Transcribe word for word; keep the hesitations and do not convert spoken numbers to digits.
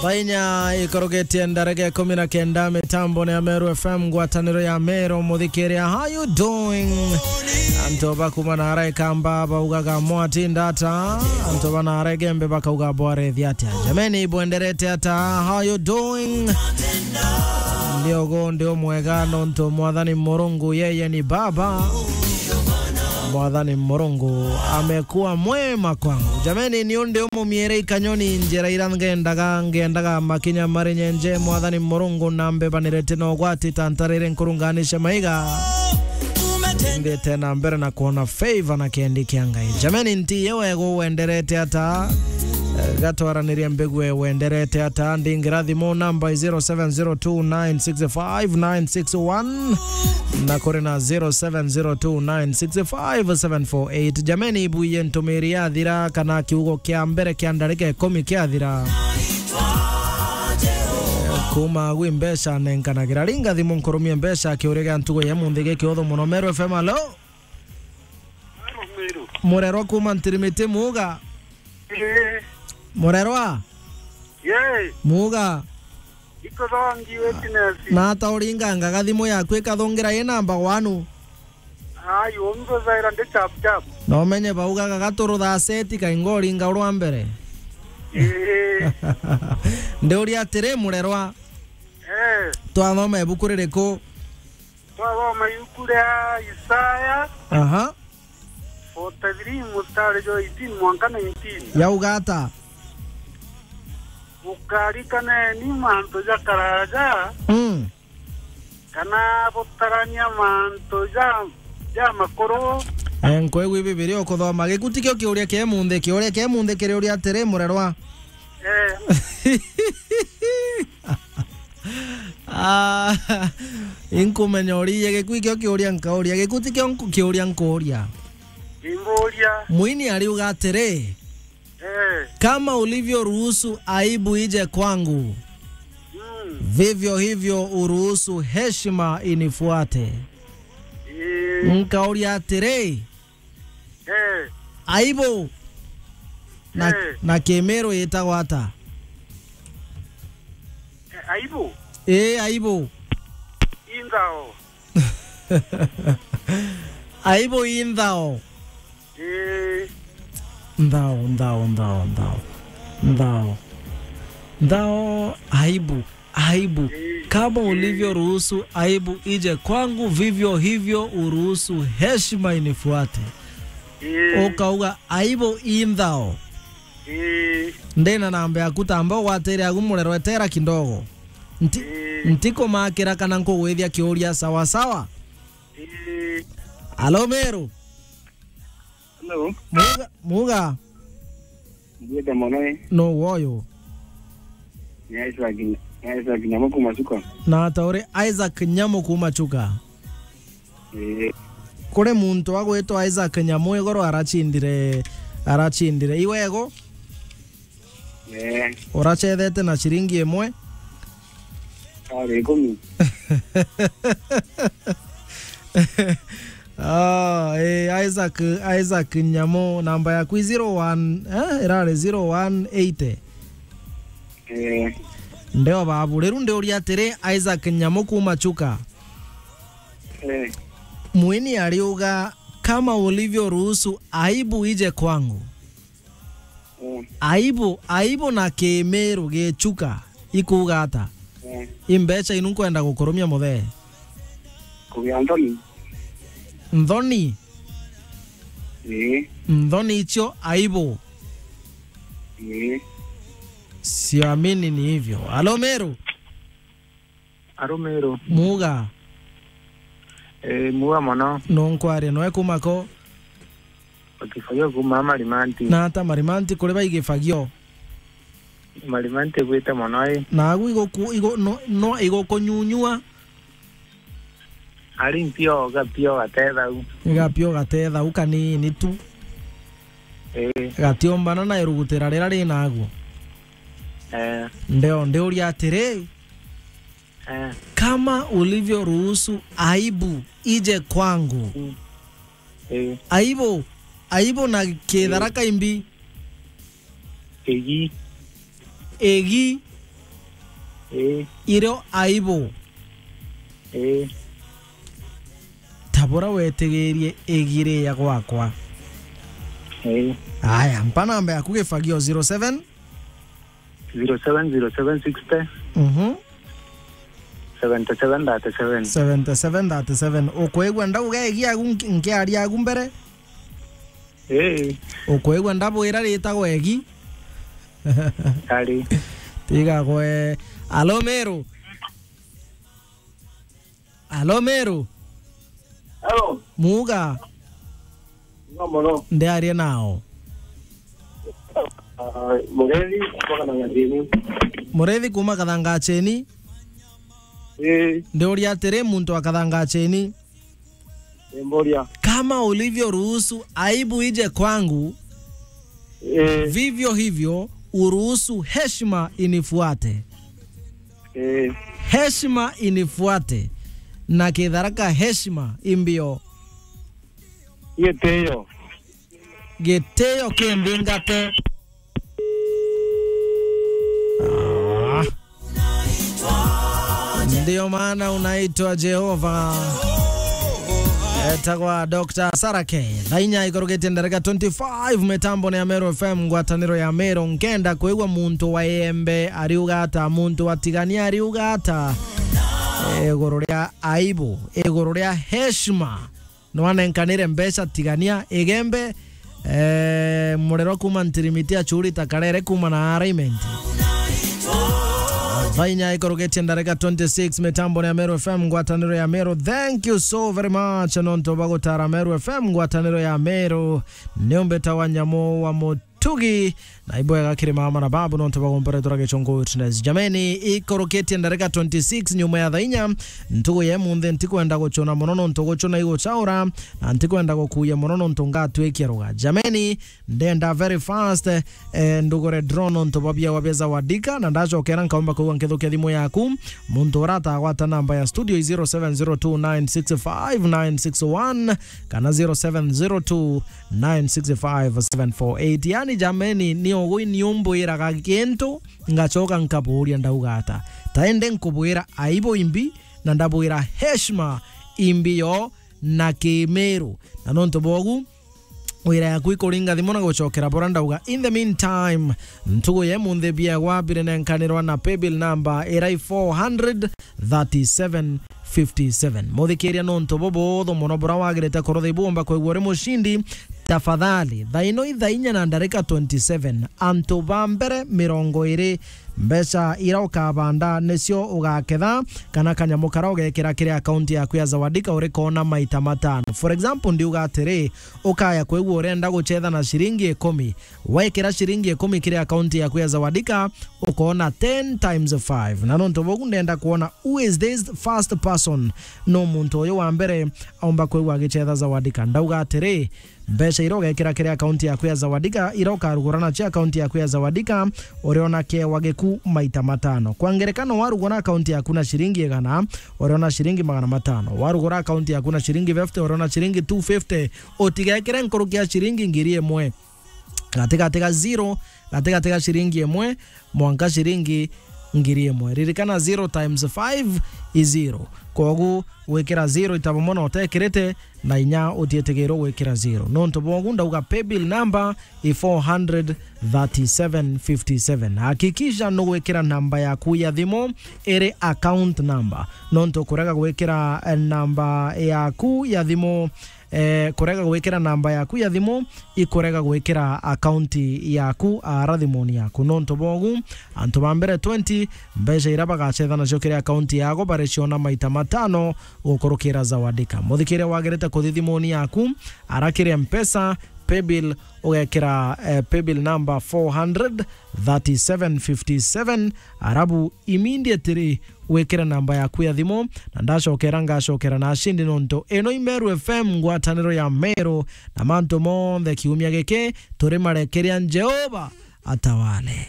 Thaa inya ikorugetie ndareke ikumi na kenda, mitambo ni ya Meru F M, ngwataniro ya Meru, muthikiria. How you doing? Antu bakuma na ara ikamba baugaga, "Mwatinda ata?" Antu ba na ara igembe bakauga, "Bwarethia atia?" Jameni, bwenderete ata? How you doing? Ndi ugu, ndi umwega, nontu Mwathani Murungu yeye ni Baba. Mwathani Murungu amekuwa mwema kwangu. Jameni, ni undi umumiere ikanyoni njira ira ngendaga, ngendaga makinya mari nyenje. Mwathani Murungu nambebanirete na ugwati ta ntarire nkurunganishe maiga. Ndite na mbere na kuona favor na kendi kia Ngai. Jameni, nti ye wegu wenderete ata? Eh, gatwaranirie mbegu e wenderete ata? Ndingira thimu namba zero seven zero two nine six five nine six one na kuri na zero seven zero two nine six five seven four eight. Jameni, ibuye ntumiri yathira kana kiugo kia mbere kia ndarika ikumi kiathira. Kuma gwi mbeca nenkanagira. Ringa thimu nkurumie mbeca kiuria gia ntugo ya munthi gikiuthu muno. Meru F M, alo? Murerwa kuma Ntirimiti, muga? Ii. Murerwa? Yee. Muga? Iko thongi witness. Na ata uringanga gathimu yaku ikathungira i namba wanu? Ai, umbe zaira ndi chap chap. Na umenye baugaga gaturutha seti kainga uringa urwa mbere. Ii. Ndiuria atiri, murerwa? Eh. Twathoma ibuku ririku? Twathoma ibuku ria Isaya. Aha. Forty-three, mustari jwa eighteen mwanka nineteen. Yauga ata? Ukarikaneni mantu ja karaja, mm, kana butarania mantu ja, ja makuru. Eh, nkwigua Bibilia ukuthoma. Gikuti kio kiuria kia munthi, kiuria kia munthi kiri uria atiri, murerwa? Eh. Ah, inkumenya uria gikui kio kiuria nkauria, gikuti kio nku-, kiuria nkuuria. Imburia. Mwini ariuga atiri, eh, "Kama ulivyoruhusu aibu ije kwangu, mm, vivyo hivyo uruhusu heshima inifuate." Eh. Nkauria atiri, eh, aibu na, eh, na Kimiru yitagwa ata? Eh, aibu? Ii, aibu. Inthao. Aibu inthao. Ii. Nthao, nthao, nthao, nthao. Nthao. Nthao, aibu. Aibu. Ii. Kama ulivyoruhusu aibu ije kwangu, vivyo hivyo uruhusu heshima inifuate. Ii. Ukauga, "Aibu inthao." Ii. Ndina namba yaku, tamba ugwatire agu murerwa, etera kidogo. Nti-, ii, ntikumakira kana nkugwithia kiuria sawa sawa. Ii. Alo, Meru? Hello. Muga, muga. Ngwite mono, ii. No woyo. Ni Isaac, ni Isaac Nyamu kuma Chuka. Na ata uri Isaac Nyamu kuma Chuka? Ii. Kuri muntu agwitwa Isaac Nyamu igoro arachindire, arachindire. Iwego? Ee. Urachethete na ciringi imwe? Ari ikumi. Ah, eh, Isaac, Isaac Nyamu, namba yaku i zero one, eh, irari zero one eighty. Eh. Ndeo babu, riu ndiuria atiri, Isaac Nyamu kuma Chuka. Eh. Mwini ariuga, "Kama ulivyoruhusu aibu ije kwangu." Mm. Aibu, aibu na Kimiru Gichuka ikuuga ata? Mm. I mbeca inu nkwenda gukurumia muthee. Kugia nthoni. Nthoni? Ii. Nthoni icio aibu. Ii. Siamini ni hivyo. Alo, Meru? Aro Meru. Muga. Eh, muga mono. No nkwaria noe kuma ko? Ukifagio kuma Marimanti. Na ata Marimanti kuri baigifagio? Marimanti gwite mono, ii. Na agu igoku-, igo-, no, no igukunyunyua? Ari mpio, gapio gatethau. Gapio gatethau kanini tu. Ii. Gatiombana na irugutira rira ri naguo. Eh. Ndeo, ndiuria atiri, eh, kama ulivyoruhusu aibu ije kwangu. Mm. Eh. Aibu, aibu na Kitharaka imbi. Egi. Egi. Ii. Irio aibu. Ii. Tabura wetigirie igiria gwakwa. Ii. Aya, mpa namba yaku gifagio zero seven. Zero seven zero seven sixty. Mhm. Seventy seven thirty seven. Seventy seven thirty seven. Ukwigua ndauga egi agu nki-, nkiaria agu mbere? Ii. Ukwigua ndabwira ritagwa egi? Ari. Tiga gwe. Alo Meru. Alo Meru. Hello. Muga. No mono. Ndiarie nao. Ah, Murethi, kutoka na Ngacheni. Murethi kuma Kathangacheni. Ii. Ndiuria atiri, muntu wa Kathangacheni. Mboria. Kama ulivyoruhusu aibu ije kwangu, eh, vivyo hivyo uruhusu heshima inifuate. Eh. Heshima inifuate. Na Kitharaka heshima imbio. Gitio. Gitio kimbingate. Ah. Ndio maana unaitwa Jehova. Etagwa Doctor Sarake. Thaa inya ikurukitie ndarika twenty-five, mitambo ni ya Meru F M, ngwataniro ya Meru. Nkenda kwigua muntu wa Iembe ariuga ata, muntu wa Tigania ariuga ata, iguru ria aibu, iguru ria heshima. Nwanenkanire mbeca Tigania, Igembe, eh, murerwa kuma Ntirimiti, Achuri, Takarere kuma na Araimenti. Thaa inya ikurukitie ndarika twenty-six, mitambo ni ya Meru F M, ngwataniro ya Meru. Thank you so very much nontu bwa gutara Meru F M, ngwataniro ya Meru. Ni umbeta wa nyamu wa mu- tugi, na ibwega kiri mama na babu nontu bagomporetwe ra Gichungu Witness. Jameni, ikurukitie ndarika twenty-six nyuma ya thaa inya, ntugu ya imunthi ntikwenda guchuna mono nontu guchuna iguchaura, na ntikwenda gukuya mono nontu ngatwikia ruga. Jameni, ndenda very fast, eh, ndugure drone nontu bwa biawa bia Zawadika, na ndachokera nkaumba kwigua nkithukia thimu yaku. Muntu uratagwata namba ya studio i zero seven zero two nine six five nine six one kana zero seven zero two nine six five seven four eight. Yani, jameni, ni ugui ni umbwiraga gintu, ngachoka nkabuuria ndauga ata? Ta ende nkubwira aibu imbi, na ndabwira heshima imbi yo na Kimiru. Na nontu bogu, wira yaku ikuringa thimu na guchokera bura ndauga. In the meantime, ntugu ya imunthi biegwa birinenkanirwa na paybill number irai four hundred thirty-seven fifty-seven. Muthikiria, nontu bubuthu mono bura wagirite kurutha ibu umba kwigua uri mushindi, tafadhali, thaa ino i thaa inya na ndarika twenty-seven, antu ba mbere mirongo iri, mbeca ira ukabanda nicio ugaketha, kana kanyamu kara ugekira kiri akaunti yaku ya Zawadika urikona maita matano. For example, ndiuga atiri, ukaya kwigua urenda guchetha na ciringi ikumi, wekira ciringi ikumi kiri akaunti yaku ya Zawadika, ukoona ten times five. Na nontu bogu ndenda kwona who is this first person. No muntu uyu wa mbere aumba kwigua agichetha Zawadika. Ndauga atiri, mbeca ira ugekira kiri akaunti yaku ya Zawadika, ira ukarugura nacio akaunti yaku ya Zawadika, uriona kewa giku maita matano. Kwa ngerekano, warugura akaunti yaku na ciringi igana, uriona ciringi magana matano. Warugura akaunti yaku na ciringi fifty, uriona ciringi two fifty. Utigekire nkuruki ya ciringi ngiri imwe. Gatigati ga zero, gatigati ga ciringi imwe mwanka ciringi ngiri imwe. Ririkana, zero times five is zero. Kogu gwikira zero itabo mono utekirite, na inya utietigirwo gwikira zero. Nontu bogu ndauga paybill number i four hundred thirty-seven fifty-seven. Hakikisha nugwikira namba yaku ya thimu iri account number. Nontu kurega gwikira, eh, namba yaku ya thimu, eh, kurega gwikira namba yaku ya thimu ikurega gwikira akaunti yaku ara thimuni yaku. Nontu bogu, antu ba mbere twenty, mbeca ira bagachetha nacio kiri akaunti yago bariciona maita matano gukurukira Zawadika. Muthikiria, wagirite kuthi thimuni yaku, ara kiri Mpesa, paybill, ugekira, eh, paybill number four hundred thirty-seven fifty-seven, arabu immediately wikire namba yaku ya thimu, na ndacokera ngacokera na ashindi, nontu ino i Meru F M, ngwataniro ya Meru, na mantu monthe kiumia giki turi marekeria Jehova atawale.